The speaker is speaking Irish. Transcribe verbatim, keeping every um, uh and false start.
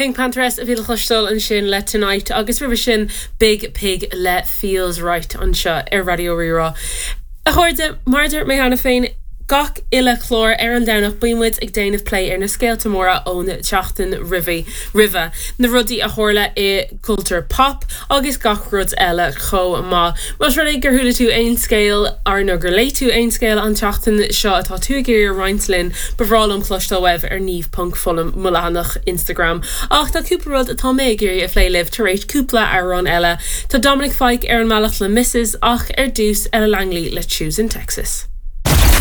PinkPantheress a bhí le cloisteáil ansin le Tonight agus roimhe sin Biig Pig le Feels Right anseo ar Raidió Rí-Rá. A chairde mar a dúirt mé cheana féin gach uile chlár ar an Domhnach bíonn muid ag déanamh plé ar na scéalta móra ón tseachtain roimhe roimhe na rudaí a tharla i cultúr pop agus gach rud eile chomh maith. Más rud é gur chuala tú aon scéal ar nó gur léigh tú aon scéal an tseachtain seo atá tú ag iarraidh roinnt linn ba bhreá liom cloisteáil uaibh ar Niamh ponc Fullam mo leathanach Instagram. Ach tá cúpla rud atá mé ag iarraidh a phlé libh tar éis cúpla amhrán eile. Tá Dominic Fike ar an mbealach le Mrs ach ar dtús Ella Langley le Choosing Texas.